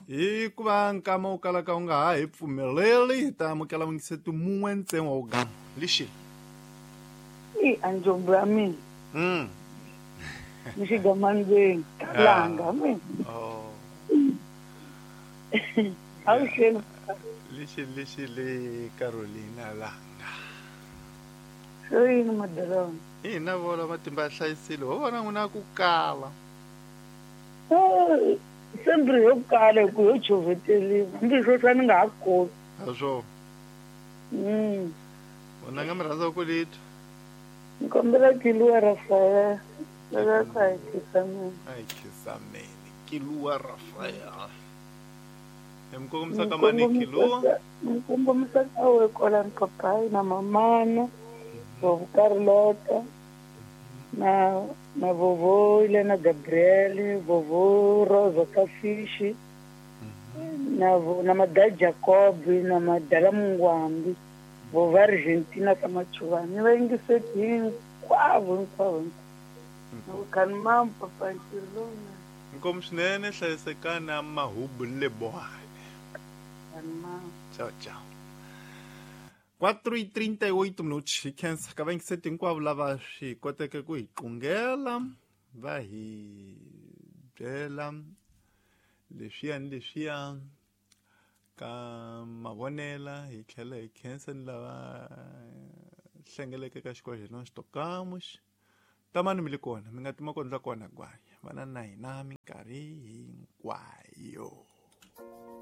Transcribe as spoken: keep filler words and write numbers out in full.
Hi ku va nkama wu kalaka wu nga ha hi pfumeleli, hi ta amukela vuyingiseti mun'we ntsena wa wugama. Lixi. I anjombo ya mina. Mm. Ni xigamandzeni. Langa mina. Oh. Avuxeni. Lixi lixi le Carolina Langa. Swo yini madalona? Ina vona matimba ya hlayisile, ho vona n'wina ku kala. Eh, sembri yo kala hi ku yo chuveteliwa. Hambi swo swa ni nga ha koti. Ha swo. Mm. Vona nga mi rhandza ku litwa. Ni kombela Kiluwa Rafael. Lava ku a hi khisameni. A hi khisameni. Kiluwa Rafael. Hi mi kongomisa ka mani Kiluwa? Ni kongomisa ka we kwalani papayi na mamana, vovo Carlota, na na vovo Elena Gabriel, vovo Rosa Kafishi, na vo na Mada Jacob, na Madala Mungwambi, vovo Argentina ka Machuvani. Ni va yingiseti hinkwavo hinkwavo hinkwavo. Khani mam papa ntirho lowunene. Inkomu swinene, hlayisekani a mahubu lebohane. Khani mam. Tchau, tchau. quatro e trinta e oito minutos. Hi khensa ka vayingiseti hinkwavo lava swi koteke ku hi qungela, va hi byela leswiya ni leswiya ka mavonela. Hi tlhela hi khensa ni lava hlengeleke ka xikolo xa hina Xitokamos. Tamani mi le kona, mi nga tima kondla kona gwanya. Vana na hina minkarhi hinkwayo.